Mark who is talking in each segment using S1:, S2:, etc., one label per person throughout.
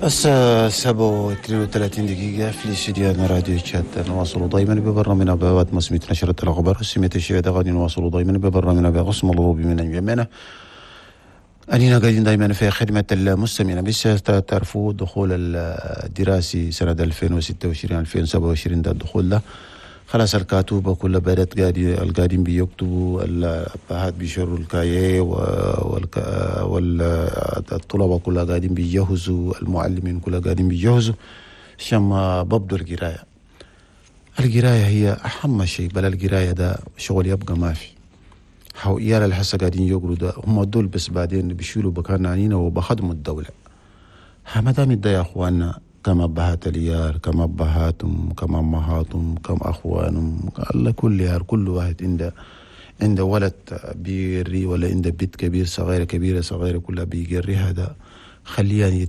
S1: الساعة 7:32 في الاستديو راديو تشاد. نواصل دائما ببرنامجنا بواد مسمية نشرة الأخبار سمية الشهادة. غادي نواصل دائما ببرنامجنا بقسم الروبي من جميعنا. أننا قاعدين دائما في خدمة المستمعين. بس تعرفوا الدخول الدراسي سنة 2026 2027 ده الدخول ده خلاص الكاتوبة كلها بدأت القاعدين بيكتبوا، الأبهات بيشروا الكاية والطلبة كلها قاعدين بيجهزوا، المعلمين كلها قاعدين بيجهزوا عشان ما ببدوا القراية. القراية هي أهم شيء، بل القراية ده شغل يبقى ما في. حو إيال الحسة قاعدين يقروا ده هم دول بس بعدين بيشيلوا بكان عنينا وبخدموا الدولة. ما دام ده يا أخواننا كم أبهات اليار، كم أبهاتهم، كم أمهاتهم، كم أخوانهم، الله كل يار كل واحد عنده ولد بيقري ولا عنده بيت كبير صغيرة كبيرة صغيرة كلها بيقري. هذا خليه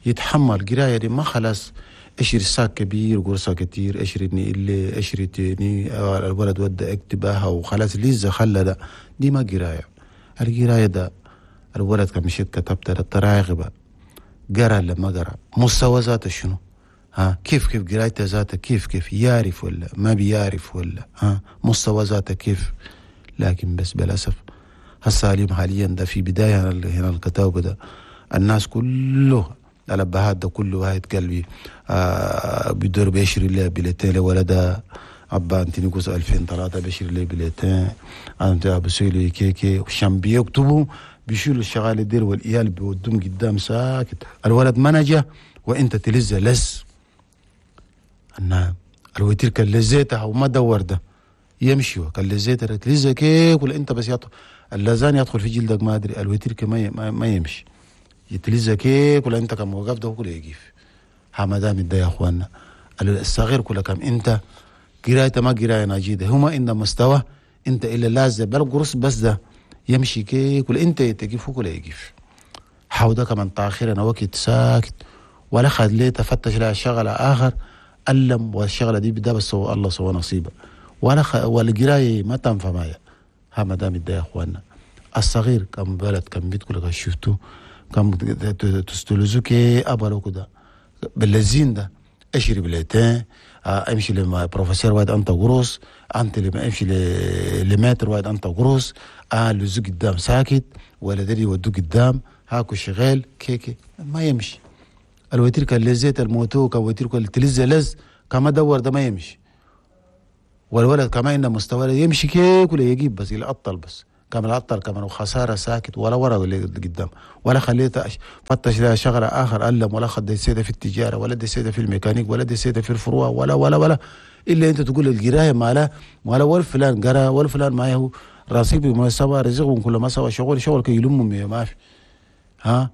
S1: يتحمل القراية دي. ما خلاص اشري ساك كبير قرصة كتير، اشري اللي اشري تاني الولد ودى اكتبها وخلاص ليزة خلى ده. دي ما قراية. القراية ده الولد كان مشيت كتبت التراغبة قرا لما قرا مستوى ذاته شنو، ها كيف قرايته ذاته كيف يعرف ولا ما بيعرف ولا ها مستوى ذاته كيف. لكن بس بالاسف هالسالم حاليا ده في بداية هنا الكتاب ده الناس كله الابهات ده كله واحد قلبي بيدور بيشري له بليتين لولده ابا انتينيكوس 2003 بيشري له بليتين انت ابو سيلي كيكي وشام بيكتبوا بيشيلوا الشغال دير والإيال بيودهم قدام ساكت. الولد ما نجا وانت تلز لز النعم الوتير كان لزيتها وما دور ده يمشي كان لزيتها تلز كيك ولا انت بس يطل اللزان يدخل في جلدك ما ادري الوتير ما يمشي يتلز كيك ولا انت كم وقف ده كله يقف. ها ما دام ده يا اخوانا الصغير كله كم انت قرايته ما قرايه نجيده هما ان مستوى انت الا لازم بالقرص بس ده يمشي كيك ولا انت تقف ولا يقف. حوده كمان تاخيرا وقت ساكت ولا خد ليه تفتش لها شغله اخر ألم والشغله دي بدا بس هو الله سوى نصيبه ولا والقرايه ما تنفع معايا. ها ما دام ده يا اخوانا الصغير كم بلد كم بيت كلك شفتو كم تستلزوكي ابلو كده باللزين ده اشري بليتين امشي لما بروفيسور واحد انت قروس انت لما امشي لمتر واحد انت قروس لزو قدام ساكت ولا دري ودو قدام هاكو شغال كيكي ما يمشي. الوتير كان لزيت الموتو كوتير كان تلز لز كما دور ده ما يمشي. والولد كما انه مستوى يمشي كيك ولا يجيب بس يلقطل بس كما العطل كمان وخسارة ساكت ولا ورا ولا قدام ولا خليته فتش لها شغله اخر ألم ولا خد سيده في التجارة ولا دي سيده في الميكانيك ولا دي سيده في الفروع ولا ولا ولا الا انت تقول القراية ما لا ولا فلان قرا ولا فلان ما هو رصيب ما سوى رزقهم كل ما سوى شغل كي يلمهم ما في. ها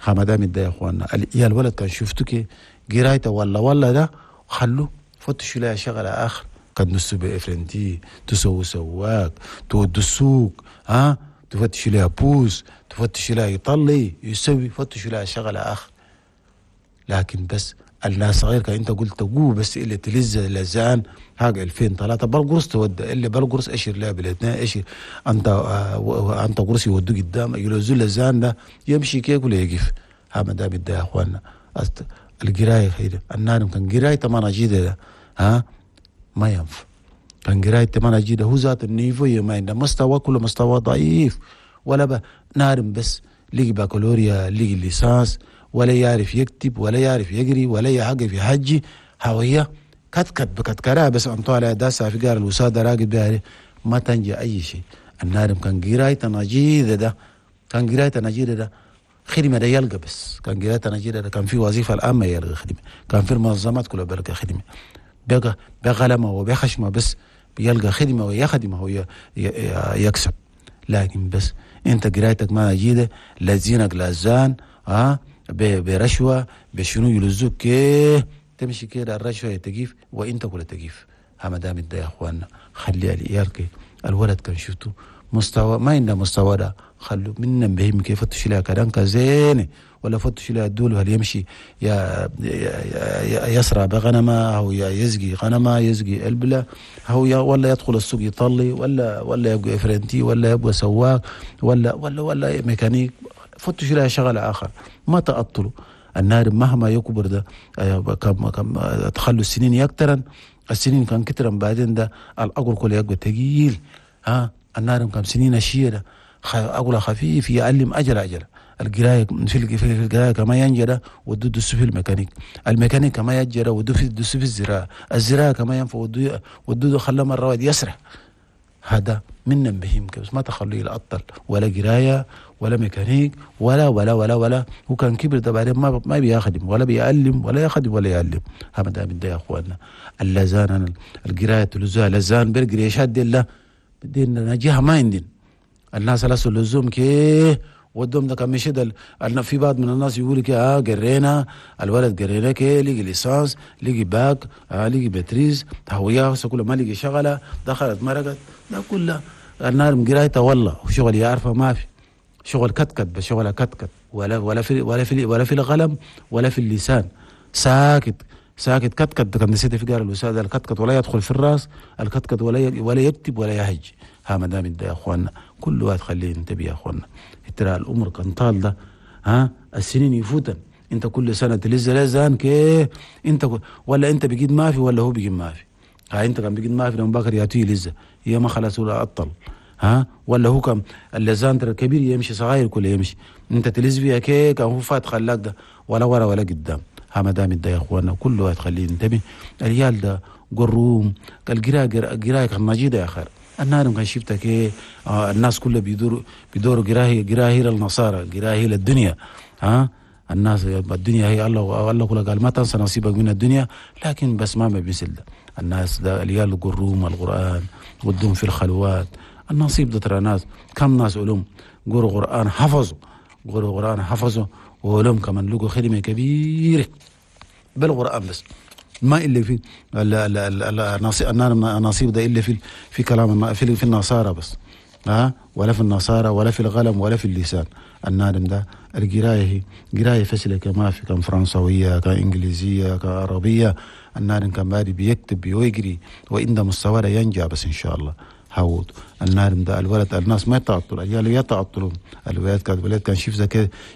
S1: ما دام ده يا اخوانا يا الولد كان شفتك قرايته ولا ده خلوه فتشوا لها شغله اخر قد نسو بإفرنتي تسوي سواق تود السوق ها تفتش لها بوس تفتش لها يطلي يسوي فتش لها شغلة آخر. لكن بس الناس صغير كان انت قلت قو بس اللي تلز لزان هاج 2003 بالقرص تودى اللي بالقرص اشير لها بالاثنين اشير انت انت قرص يودو قدام يلزو لزان ده يمشي كيك ولا يقف. ها ما دام ده يا اخوانا القراية خير النار كان قرايه ما نجيده ده ها ما ينفع. كان قراية ما نجيده هو ذات النيفو ما عنده مستوى كله مستوى ضعيف ولا نارم بس لقي بكالوريا لقي ليسانس ولا يعرف يكتب ولا يعرف يقري ولا يعرف يحجي هوية كتكت بكتكرا بس أنتو على داسة في قار الوسادة راقد بها ما تنجي أي شيء. النارم كان قراية نجيدة ده كان قراية نجيدة ده خدمة ده يلقى بس كان قراية نجيدة ده كان في وظيفة الآن ما يلقى خدمة كان في المنظمات كلها بلقى خدمة بقى بغلمة وبخشمة بس بيلقى خدمة ويخدمه ويكسب. لكن بس انت قرايتك ما جيدة لزينك لازان ها برشوة بشنو يلزوك تمشي كده الرشوة تجيف وانت كلها تجيف. ها ما دام ده يا اخوانا خليها لإيالك الولد كان شفته مستوى ما عنده مستوى ده خلوا منا بهم كيف فتش لها كلام كزين ولا فتش لها الدول هل يمشي يا يسرع بغنمه او يزقي غنمه يزقي البله او ولا يدخل السوق يطلي ولا يبقى افرنتي ولا يبقى سواق ولا ولا ولا ميكانيك. فتش لها شغله اخر ما تأطلوا. النار مهما يكبر ده كم كم تخلوا السنين يكترن، السنين كان كترن بعدين ده الأقل كله يبقى تقيل. ها النار كم سنين الشيء ده أقول خفيف يعلم أجل أجل القراية في القراية كما ينجرى ودو دس في الميكانيك، الميكانيك كما يجرى ودو في دس في الزراعة، الزراعة كما ينفع ودو خلى مرة واحد يسرح. هذا من بهم بس ما تخليه لا أطل ولا قراية ولا ميكانيك ولا ولا ولا ولا. هو كان كبر ده بعدين ما بيخدم ولا بيعلم ولا يخدم ولا يعلم. هذا من ده يا اخواننا اللزان القراية تلزها لزان بالقريشات دي لا بدينا نجيها ما عندنا الناس لا لزوم كي ودهم ده كان مشي ده. في بعض من الناس يقول لك قرينا الولد قرينا كي لقي licence لقي باك لقي maîtrise هوية كله ما لقي شغله دخلت مرقت ده كله النار قرايته والله وشغل يعرفه ما في شغل كتكت بس شغله كتكت ولا ولا في ولا في ولا في القلم ولا في اللسان ساكت ساكت كتكت. كان نسيت في قال الوسادة الكتكت ولا يدخل في الراس الكتكت ولا يكتب ولا يهج. ها ما دام ده يا اخواننا كل واحد خليه ينتبه يا اخواننا. ترى الامر كان طال ده ها السنين يفوتن انت كل سنة تلز لزان كي انت ولا انت بقيت ما في ولا هو بقيت ما في. ها انت كان بقيت ما في لما بكر ياتي لزه يا ما خلاص ولا اطل ها ولا هو كم اللزان ترى كبير يمشي صغير كله يمشي انت تلز فيها كي كان هو فات خلاك ده ولا ورا ولا قدام. ها ما دام ده يا اخواننا كل واحد خليه ينتبه. العيال ده قروم القراية قرايه كان مجيده يا خير. النار كان شفتك ايه الناس كلها بيدوروا قرايه للنصارى قرايه للدنيا. ها الناس الدنيا هي الله الله كله قال ما تنسى نصيبك من الدنيا، لكن بس ما بيسل ده الناس ده العيال قروم القرآن ودهم في الخلوات النصيب ده ترى ناس كم ناس علوم قروا قرآن حفظوا قروا قرآن حفظوا وعلوم كمان لقوا خدمة كبيرة بالقرآن بس ما إلا في النصيب ده إلا في كلام في النصارى بس ها ولا في النصارى ولا في القلم ولا في اللسان. النادم ده القراية هي قراية فسلة ما في كان فرنسوية كان إنجليزية كان عربية. النادم كان بادي بيكتب ويقري وإن مستواه ينجح بس إن شاء الله. هاود النادم ده الولد الناس ما يتعطلوا العيال يتعطلوا الولاد كان الولاد كان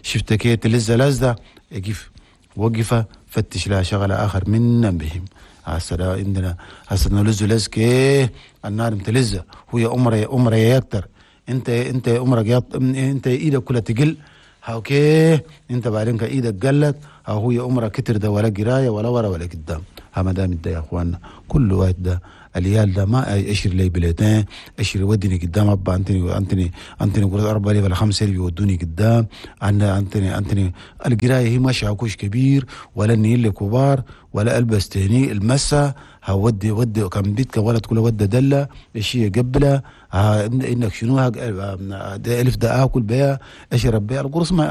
S1: شفت كده تلزة لزة يقف وقفة فتش لها شغلة آخر من بهم. هسه عندنا هسه نلز لز كي النار متلزة هو أمره يكتر انت عمرك انت ايدك كلها تقل okay انت بعدين ايدك قلت او هو عمرك كتر ده ولا قرايه ولا ورا ولا قدام. ها ما دام ده يا اخواننا كل واحد ده اليال ده ما اشري لي bulletin اشري ودني قدام ابا انتني انتني قلت 4 ولا 5 يودوني قدام. انا انتني القراية هي ما شاكوش كبير ولا اني اللي كبار ولا البس تاني المسه ودي ودي كم بيتك ولد كله ودي دله الشيء قبله انك شنو الف ده اكل بيها اشرب بيها القرص ما